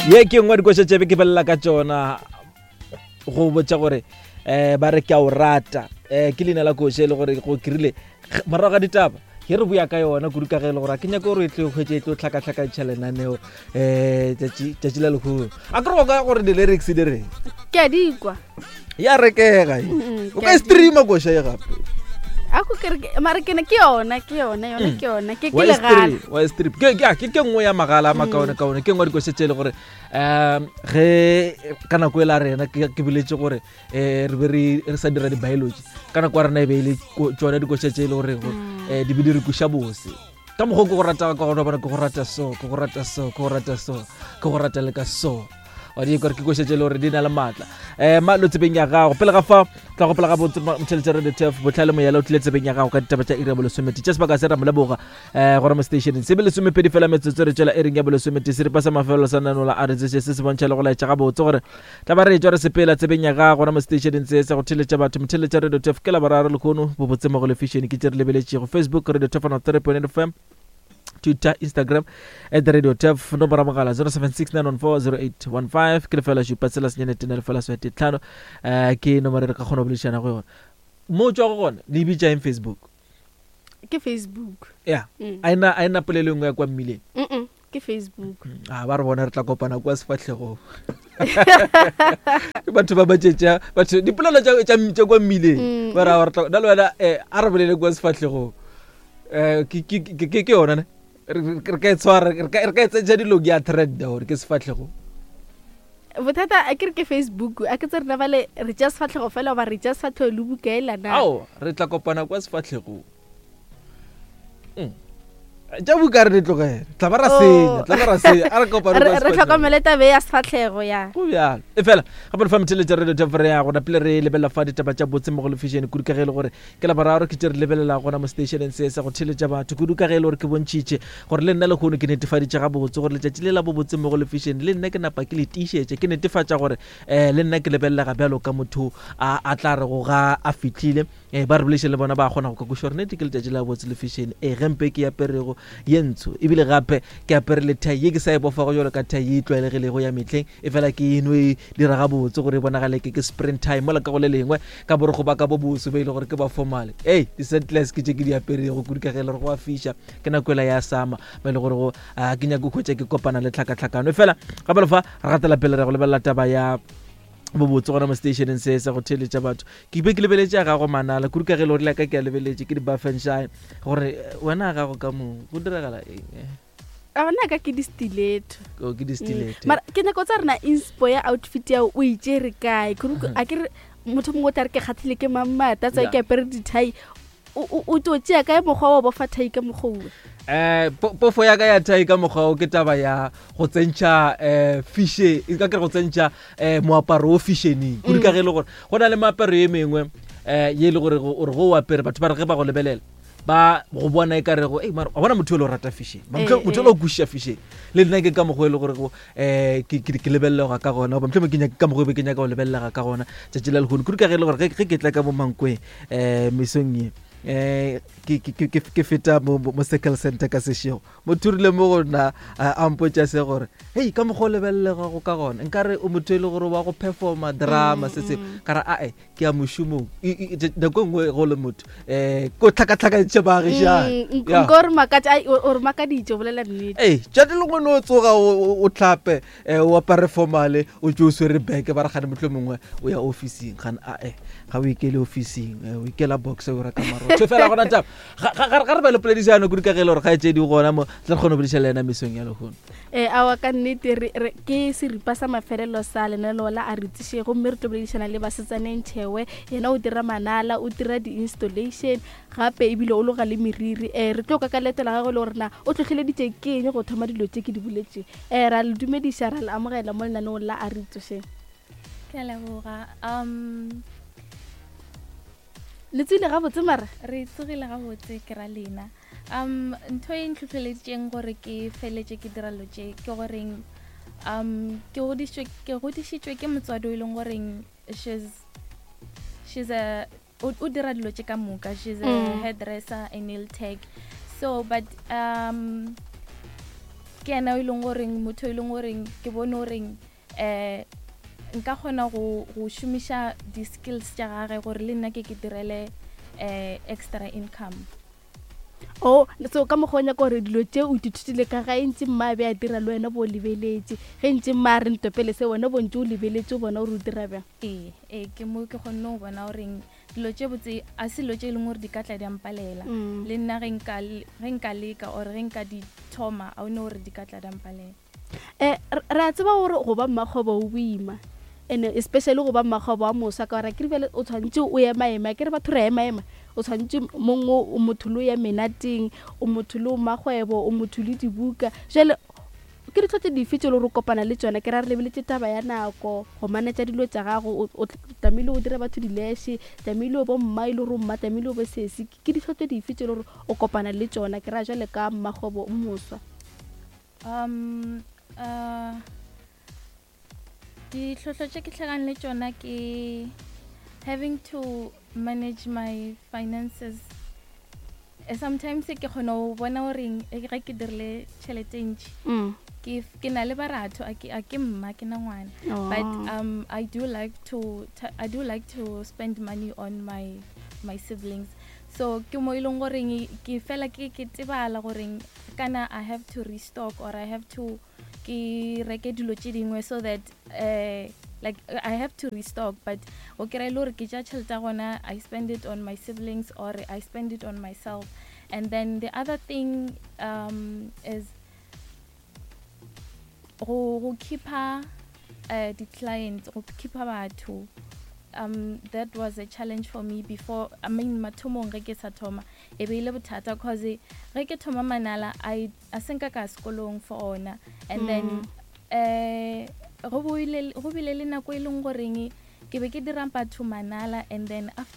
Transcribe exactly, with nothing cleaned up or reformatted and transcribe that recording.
Ye ke nngwe dikoša tše be ke belela ka tšona go botša gore um ba re ke a o rata. um ke leina la koša e le gore go kirile morago ga ditaba ge re boya ka yona kudu ka ge e le gore a ke nyake gore e tlo hwetše e tlo tlhakatlhakantšha lenaneo um tšatši la lehono. A ke re go ka gore di-lyrics di reng? Ke a di kwa. Ya rekega e. Mm, O ke ka a e di- streama koša ye gape. A ko ke re ke- mare ke ne ke yona, ke yona, yona ke yona, ke ke Wa e legala. stream, wa e stream. Ke ke ke ke nngwe ya magala a makaone-kaone, ke nngwe ya dikoša tše e le gore um ge ka nako e la rena ke ke boletse gore um re be re re sa dira di-biology ka nako ya rena, e be e le ko- tšona dikoša tše e le gore um di be di re kweša bose ka mokgwa o ke go rata ka gona. Bona, ke go rata so, ke go rata so, ke go rata so, ke go rata le ka so. Wa di kore ke koša tše e le gore di na le maatla. um malo tsebeng ya gago pele ga fa tla gopola gabotse motšheletše Radio Tf Botlhale Moyala o tlile tsebeng ya gago ka ditaba tša iri ya bolesomete tša sebaka se ra mo leboga um gora mo stationeng se be lesomepedi fela metsotso re tšwela ering ya bolesomete. Seripa sa mafelelo sa nanola a re tseše se se bontšha le go laetša gabotse gore tla ba re tšwa re sepela tsebeng ya gago gona mo stationeng se sa go theletša batho, motheletša Radio Tf. Ke Laboraro lekgono, bobotse mo go lefišene ke tše re lebeletšego Facebook Radio Tf three point F M, Twitter, Instagram at Radio Tf. Nomoro ya mogala zero seven six nine one four zero eight one five, ke lefela šupa tsela senyane tena lefela swete tlhano, um ke nomoro e re ka kgona go boledišana go yona. Mo o tswa go gona le bitša eng, Facebook? Ke Facebook. Ya. Mm. A ena a ena polelo e nngwe ya kwa mmileng? Mm-mm, ke Facebook. A ba re bona re tla kopana kwa sefatlhegong. Ke batho ba batšetša batho dipolelo tša tša- tša kwa mmileng. Mm. Ba ra re tla na le wena, um a re bolele kwa sefatlhegong. um ke ke- ke ke- ke yona ne re re- re ka e tshwara, re ka re ka e tsentšha dilong ya trenda gore ke sefatlhegong. Bothata a ke re ke Facebook, a ke tse rena bale re tša sefatlhego fela goba re tša sefatlhego le bukaela na? Ao, re tla kopana kwa sefatlhegong. Mm. Tša buka re di tlogele, tla ba ra Oh. senya, tla ba ra senya. A re kopane re kwa re sefatlhegong. tlhokomele tabe ya sefatlhego ya. Go bjalo e fela gape re fa motheletša Radio Tf re ya gona pele re lebelela fa ditaba tša botse mo go lefišene kudu ka ge e le gore ke Laboraro ke tše re lebelela gona mo stationeng se sa go theletša batho kudu ka ge e le gore ke bontšhitše gore le nna lehono ke netefaditše gabotse gore letšatši le la bobotse mo go lefišene le nna ke napa ke le tiišetše, ke netefatša gore um le nna ke lebelelega bjalo ka motho a a tla re go ga a fitlhile um ba re bolešeng le bona ba kgona go ka kweša gore nete ke letšatši la botse lefišene. Ee, gempe ke aperego ye ntsho, ebile gape ke apere le thai ye ke sa e bofago jalo ka thai ye e tlwaelegilego ya mehleng, e fela ke eno e dira gabotse gore e bonagale ke ke sprint time mola ka go le lengwe ka borogo ba ka bo boso ba ile gore ke ba formale. Ei, di-sandless ke tše ke di aperego kudu ka ge e le gore go a fiša, ke nako ela ya sama ba e le gore go ah, ke nyake go hwetša ke kopana le tlhakatlhakano. E fela gape le fa re gatela pele re go lebelela taba ya bobotse gona mo stationeng se sa go theletša batho. Ke be ke lebeletše ya gago manala kudu ka ge e le gore le ka ke a lebeletše ke di-buffenshine gore eh, wena ya gago ka mo go diragala eng eh? A bona ka ke di-stiletto. Oh, ke di-stiletto. Mara ke nyako tsa rena inspo ya outfit ya o itšere kae? Kore a ke re motho mongwe o tla re ke kgathile ke mamata tsa Yeah. ke apere dithai, o o- o tlo tšea kae mokgwa wa bofa thai ka mokgwa owe? um pofo ya ka ya thai ka mokgwa o ke taba ya go tsentšha um fishe e ka ke re go tsentšha um moaparo o fishioning kudu ka ge e le gore go na le meaparo ye mengwe um ye e le gore go- ore go o apere batho ba re ge ba go lebelela ba go bona e ka rego ei mara wa bona motho o le o rata fashion. Eh, Motho eh. o le o kwešiša fashion. Le nna ke ka mokgwa e le gore um ke ke- ke lebelelega ka gona, goba mohlomongwe ke nyaka- ka mokgwa e be ke nyaka go lebelelega ka gona tšatši la lehono kudu ka ge e le gore ge ge ke tla ka mo Mankweng um mesong ye um ke- ke ke- ke- ke feta mo mo- mo circle center ka sešego, motho o rile mo go nna a a mpotša se gore hei, ka mokgwa o lebelelegago ka gona nkare o motho e le gore wa go performa drama se sengwe. Ka re ae, ke ya mošomong. I- i- i- nako e nngwe go le motho um ko tlhakatlhakantšhe baagišane. Mm, Ya. nka o re makatša, ai, o o re makaditše o bolela nnete. Ee, tšate lengwe no o tsoga o- o o tlhape um o apare formale, o tse o swere beke, ba re gane motlho mongwe o ya officing, gane ae, ga o ikele officing, eh, o ikela box o reka marotho fela gona taba. Ga ga- ga re ba le poledišano kudu ka ge e le gore ga tse di gona mo tla re kgone go bolediša le ena mesong ya lehono. um aowa, ka nnete re- re- ke seripa sa mafelelo sa lenaneo la a re tšiše, gomme re tlo boledišana le Basetsaneng Tšhewe. Yena o dira manala, o dira di-installation gape ebile o loga le meriri. um re tlo ka ka leeto la gagwe le gore na o tlhotlheleditše ke eng go thoma dilo tše ke di boletšeng. um ra le dumediša, ra le amogela mo lenaneong la a re tsošeng. Ke a leboga. um Le tsile gabotse mara? Re tsogile gabotse, ke ra lena. um ntho e ntlhotlheleditšeng gore ke feletše ke dira dilo tše ke goreng um ke godišitšwe ke godišitšwe ke motswadi o e leng goreng she's she's a o o dira dilo tše ka moka. She's a Mm. hairdresser, a nail tech, so but um Ke yena o e leng goreng motho e leng goreng ke bone goreng um nka kgona go go šomiša di-skills tša gage gore le nna ke ke direle um extra income. O so ka mokgwa o nyaka gore dilo tše o ithutile ka gae, ntse mma a be a dira le wena bo o lebeletše, ge ntse mma a re ntopele se, wena bo ntse o lebeletse o bona gore o dira bjang? Ee, ee, ke mo ke kgonne go bona goreng dilo tše botse a se dilo tše e leng gore di ka tla di mpalela. Mm. Le nna ge nka le- ge nka leka or ge nka di thoma, a one gore di ka tla di mpalela. um re a tseba gore go ba mmakgwebo o boima, and especially go ba mmakgwebo wa moswa, ka gore ke re bjale o tshwanetse o emaema, ke re batho re emaema, o tshwanetse mongwe o motho le o ya menateng, o motho le o makgwebo, o motho le dibuka. Jale ke ditlho tse dife tse e le gore o kopana le tsona? Ke ra re lebeletse taba ya nako go manetša dilo tša gago, o- o tlamehile o dire batho dileshe, tlamehile o bo mma e le gore o mma, tlamehile o be sesi. Ke ditlho tse dife tse e le gore o kopana le tsona, ke ra jale ka mmakgwebo o moswa? um uh ditlhohlo tše ke hlakang le tšona ke having to manage my finances. Eh, sometimes ke kgona go bona goreng eh, ge ke dirile tšhelete e ntši, Mm. ke ke na le baratho, a ke a ke mma, ke na ngwana, but um I do like to t- I do like to spend money on my my siblings. So ke mo e leng goreng ke fela ke ke tebala goreng kana I have to restock or I have to ke reke dilo tše dingwe so that uh, like I have to restock. But o kry-e le gore ke tša tšhelete ya gona, I spend it on my siblings or I spend it on myself. And then the other thing um, is go go keepa uh, di-clients, go keepa batho. um that was a challenge for me before, I mean, mathomong ge ke sa thoma e be e le bothata, cause ge ke thoma manala I a senka ka sekolong for ona, and then eh go boile go bile le nako e leng goreng ke be ke dira batho manala, and then after